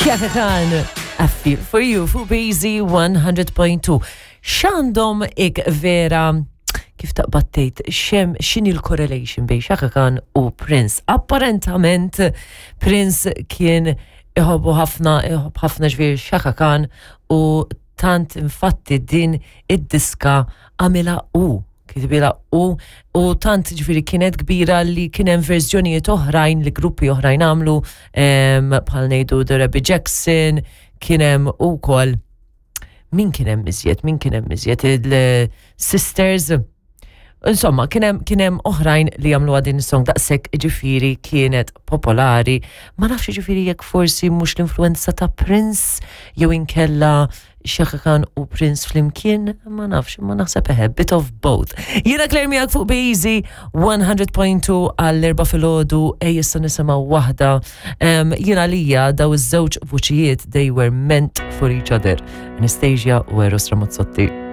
Chaka Khan, I Feel For You fuq Busy 100.2. X'għandhom ik vera kif taqbad tgħid xem x'inhi l-correlation bejn Chaka Khan u Prince. Apparentament Prince kien iħobbu ħafna, iħobb ħafna ġifieri Chaka Khan u tant infatti din id-diska għamilha u kitbilha u u tant ġifieri kienet kbira li kien hemm verżjonijiet oħrajn li gruppi oħrajn għamlu bħal ngħidu The Rebby Jackson, kien hemm ukoll min kien hemm iżjed, min kien hemm iżjed il-Sisters. Insomma, kien hemm kien hemm oħrajn li jagħmluha din is-song daqshekk ġifieri kienet popolari. Ma nafx ġifieri jekk forsi mhux l-influenza ta' Prince jew inkella Chaka Khan u Prince flimkien, ma nafx, ma naħseb eħe, bit of both. Jiena Claire miegħek fuq Be 100.2 għall-erba filgħodu ej issa nisimgħu waħda. Jiena lija daw iż-żewġ vuċijiet they were meant for each other. Anastasia u Eros Ramazzotti.